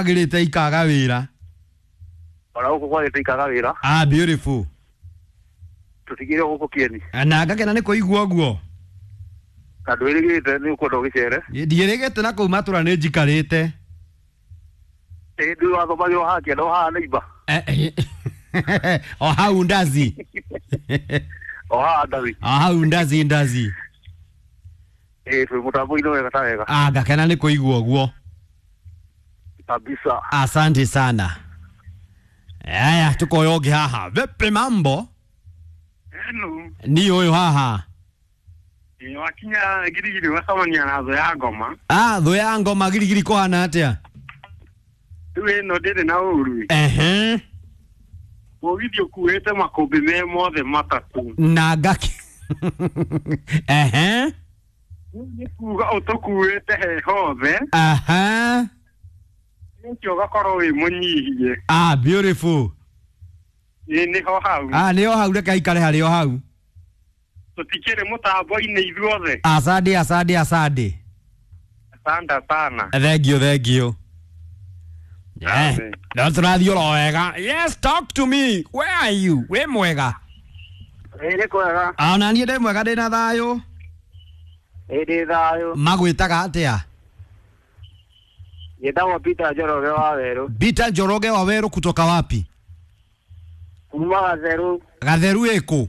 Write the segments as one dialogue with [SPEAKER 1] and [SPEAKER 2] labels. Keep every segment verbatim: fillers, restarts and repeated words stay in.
[SPEAKER 1] Agĩrĩte ikaga wĩra.
[SPEAKER 2] Ona gũkũ kwagĩte ikaga wĩra.
[SPEAKER 1] Ah, beautiful.
[SPEAKER 2] Tũtigire gũkũ kĩeni.
[SPEAKER 1] Na ngakena nĩ kũigua ũguo.
[SPEAKER 2] Na ndwĩrĩgĩte nĩ ũkwenda ũgĩcere.
[SPEAKER 1] Ndiĩrĩgĩte na kũu matũra nĩ njikarĩte.
[SPEAKER 2] Ĩ ndũĩ wathomagĩrwo haha kĩanda o haha neighbor.
[SPEAKER 1] Eh, eh, o hau ndazi.
[SPEAKER 2] O haha ndathi.
[SPEAKER 1] O hau ndazi ndazi.
[SPEAKER 2] Ĩ twĩ mũtambo-inĩ wega ta wega.
[SPEAKER 1] Ah, ngakena nĩ kũigua ũguo.
[SPEAKER 2] Kabisa.
[SPEAKER 1] Asante sana. Aya, tukoya ũngĩ haha. Vipi mambo?
[SPEAKER 3] Hello.
[SPEAKER 1] Ni ũyũ haha.
[SPEAKER 3] Ĩ, wakinya girigiri ũgacemania na thũ ya ngoma.
[SPEAKER 1] Ah, thũ ya ngoma girigiri kũhana atĩa?
[SPEAKER 3] Rĩu ĩno ndĩrĩ na ũru.
[SPEAKER 1] Ehe.
[SPEAKER 3] Mũgithi ũkuĩte makũmbĩ me mothe matatũ.
[SPEAKER 1] Na ngaki. Ehe.
[SPEAKER 3] Rĩu nĩ kuga ũtũkuĩte he hothe.
[SPEAKER 1] Aha.
[SPEAKER 3] Ũcio ũgakorwo wĩ mũnyihie.
[SPEAKER 1] Ah, beautiful.
[SPEAKER 3] Ĩ nĩho hau.
[SPEAKER 1] Ah, nĩho hau reke aikare harĩ o hau.
[SPEAKER 3] Tũtikĩrĩ mũtambo-inĩ ithuothe.
[SPEAKER 1] Asante, asante, asante.
[SPEAKER 3] Asante sana.
[SPEAKER 1] Thank you, thank you. Yeah.
[SPEAKER 3] Asante.
[SPEAKER 1] No tũrathiĩ oro wega. Yes, talk to me. Where are you? Wĩ mwega?
[SPEAKER 2] Ĩ nĩ kwega.
[SPEAKER 1] Ona niĩ ndĩ mwega ndĩ na thayũ.
[SPEAKER 2] Ĩ ndĩ thayũ.
[SPEAKER 1] Magwĩtaga atĩa?
[SPEAKER 2] Njĩtagwo Peter Njoroge wa Werũ.
[SPEAKER 1] Peter Njoroge wa Werũ kutoka wapi?
[SPEAKER 2] Kuma Gatheru.
[SPEAKER 1] Gatheru ĩkũ?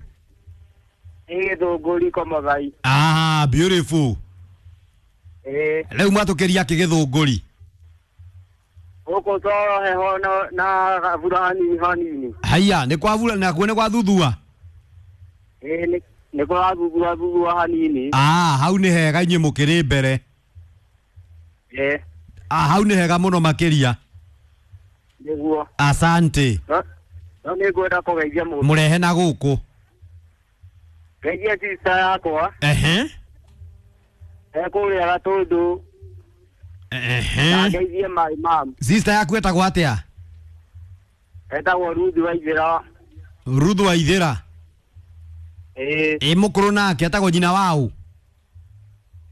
[SPEAKER 2] Ĩ Gĩthũngũri Komothai.
[SPEAKER 1] Ah, beautiful.
[SPEAKER 2] Ĩ
[SPEAKER 1] Rĩu mwatũkĩria kĩ Gĩthũngũri?
[SPEAKER 2] gũkũ toro heho na na gabura hanini hanini.
[SPEAKER 1] Haiya, nĩ kwavura nakuo nĩ gwathũthua?
[SPEAKER 2] Ĩ nĩ nĩ kũrathuthua thuthua hanini.
[SPEAKER 1] Ah, hau nĩ hega inyuĩ mũkĩrĩ mbere.
[SPEAKER 2] Ĩ
[SPEAKER 1] Ah, hau nĩ hega mũno makĩria.
[SPEAKER 2] nĩguo.
[SPEAKER 1] Asante.
[SPEAKER 2] No no nĩ ngwenda kũgeithia mũndũ.
[SPEAKER 1] Mũrehe na gũkũ.
[SPEAKER 2] Ngeithia sister yakwa.
[SPEAKER 1] Ehe.
[SPEAKER 2] Ekũrĩa Gatũndũ. Na
[SPEAKER 1] Ehe.
[SPEAKER 2] ngeithie my mom.
[SPEAKER 1] Sister yaku etagwo atĩa?
[SPEAKER 2] Etagwo Ruth Waithĩra.
[SPEAKER 1] Ruth Waithĩra.
[SPEAKER 2] Ĩ
[SPEAKER 1] Ĩ mũkũrũ nake etagwo nyina waũ?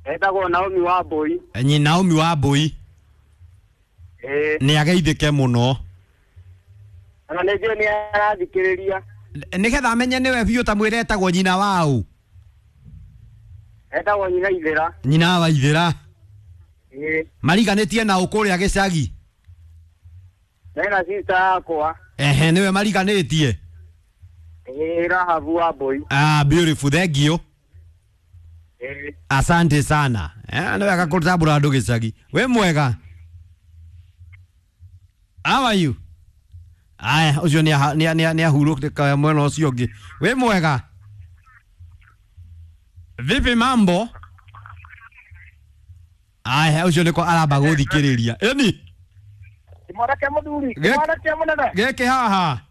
[SPEAKER 2] etagwo Naomi Wambũi.
[SPEAKER 1] Nyina Naomi Wambũi.
[SPEAKER 2] Ĩ
[SPEAKER 1] Nĩ ageithĩke mũno.
[SPEAKER 2] ona nĩ njũĩ nĩ arathikĩrĩria.
[SPEAKER 1] Nĩgetha amenye nĩwe biũ ta mwĩre etagwo nyina waũ.
[SPEAKER 2] Etagwo nyina Ithĩra.
[SPEAKER 1] Nyina wa Ithĩra.
[SPEAKER 2] Ĩ
[SPEAKER 1] Mariganĩtie na ũ kũrĩa gĩcagi?
[SPEAKER 2] mena sister yakwa.
[SPEAKER 1] Ehe, nĩwe mariganĩtie.
[SPEAKER 2] Ĩ Rahabu Wambũi.
[SPEAKER 1] Ah, beautiful, thank you.
[SPEAKER 2] Ĩ
[SPEAKER 1] Asante sana. Eh, nĩ wega kũtambũra andũ gĩcagi. Wĩ mwega? How are you? Aya, ũcio nĩ aha- nĩ nĩ nĩ ahurũka mwena ũcio ũngĩ. Wĩ mwega? Vipi mambo? Aya, ũcio nĩko aramba gũthikĩrĩria. Ĩni,
[SPEAKER 2] Kĩmwana kĩa mũthuri.
[SPEAKER 1] Gĩk-
[SPEAKER 2] Kĩmwana kĩa mũnene.
[SPEAKER 1] gĩkĩ haha.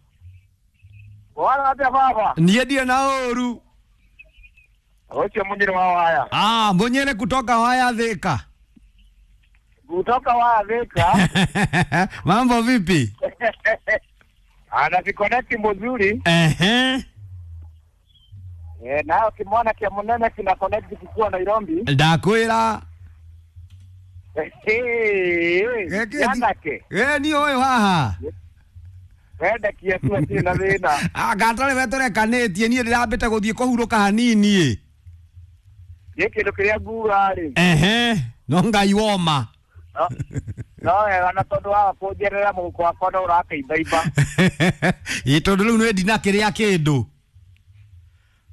[SPEAKER 2] Wara atĩa baba?
[SPEAKER 1] Niĩ ndirĩ na ũru.
[SPEAKER 2] Ũcio mũnyĩrĩ wa waya.
[SPEAKER 1] Ah, mũnyĩrĩ kutoka waya Thĩka.
[SPEAKER 2] Kutoka waya Thĩka.
[SPEAKER 1] Mambo vipi?
[SPEAKER 2] Anakikonekti mzuri.
[SPEAKER 1] Ehe.
[SPEAKER 2] Eh, nayo kimwana kĩa mũnene kina connect kikiwa Nairobi.
[SPEAKER 1] Ndakwĩra.
[SPEAKER 2] Gĩkĩ Anake.
[SPEAKER 1] Ĩ ni ũyũ haha.
[SPEAKER 2] Wendekie tu atirĩ na thĩna.
[SPEAKER 1] Anga atarĩ we tũrekanĩtie niĩ ndĩrambĩte gũthiĩ kũhurũka hanini ĩ.
[SPEAKER 2] Gĩ kĩndũ kĩrĩa nguga rĩ.
[SPEAKER 1] Ehe. No Ngai woma.
[SPEAKER 2] No no wega na tondũ wa kũnjerera mũhuko wakwa no ũrakĩimbaimba.
[SPEAKER 1] Ĩ tondũ rĩu nĩ ndina kĩrĩa kĩndũ.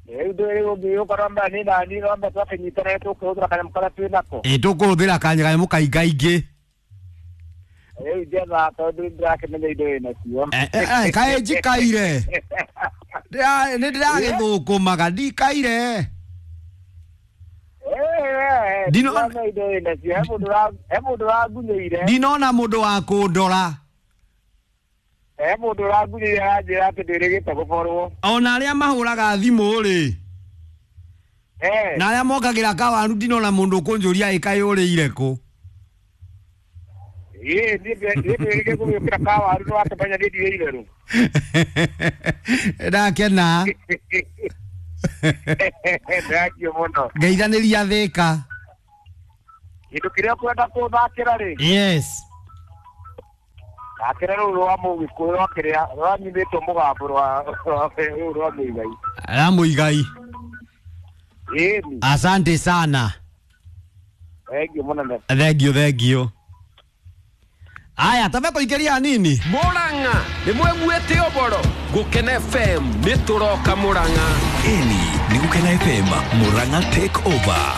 [SPEAKER 2] Rĩu ndũĩ ũngĩũka no mbere nĩ nani no mbere twakĩnyitanĩra tũkĩhũthĩra kanyamũ karĩa twĩ nako.
[SPEAKER 1] Ĩ tũkũhũthĩra kanyamũ kaingaingĩ.
[SPEAKER 2] Rĩu njetha tondũ ndĩrakĩmenya indo wĩ nacio.
[SPEAKER 1] Eh, eh, eh, kaĩ njikaire. Ndĩra- Nĩ ndĩragĩthũkũmaga ndikaire. Ndino-
[SPEAKER 2] Ndino indo wĩ nacio. He mũndũ ũra- he mũndũ ũrangunyĩire.
[SPEAKER 1] Ndinona mũndũ wa kũndora.
[SPEAKER 2] He mũndũ ũrangunyĩire aranjĩra atĩ ndĩrĩgĩte gũborwo.
[SPEAKER 1] Ona arĩa mahũraga thimũ rĩ.
[SPEAKER 2] Eh.
[SPEAKER 1] Na arĩa mokagĩra kawaru ndinona mũndũ ũkũnjũria ĩ kaĩ ũrĩire kũ.
[SPEAKER 2] Ĩ niĩ ndĩrĩgĩ gũgĩũkĩra kawaru nĩ wakĩmenya niĩ ndirĩ itherũ.
[SPEAKER 1] Ndakena.
[SPEAKER 2] Thengio mũno.
[SPEAKER 1] Ngeithanĩria Thĩka.
[SPEAKER 2] Kĩndũ kĩrĩa ũkwenda kũthakĩra rĩ
[SPEAKER 1] Yes.
[SPEAKER 2] Akĩra rũu rwa mũgĩkũyũ rwa kĩrĩa rwanyimĩtwo mũgambo rwa rwa- rũu rwa mũigai.
[SPEAKER 1] La Muigai.
[SPEAKER 2] Ĩni.
[SPEAKER 1] Asante sana.
[SPEAKER 2] Thengiũ mũnene.
[SPEAKER 1] Thank you, thank you. Aya, tabe kũingĩria nini?
[SPEAKER 4] Murang'a nĩ mweguĩte ũboro Gũkena F M nĩ tũroka Murang'a.
[SPEAKER 5] Ĩni nĩ Gũkena F M Murang'a take over.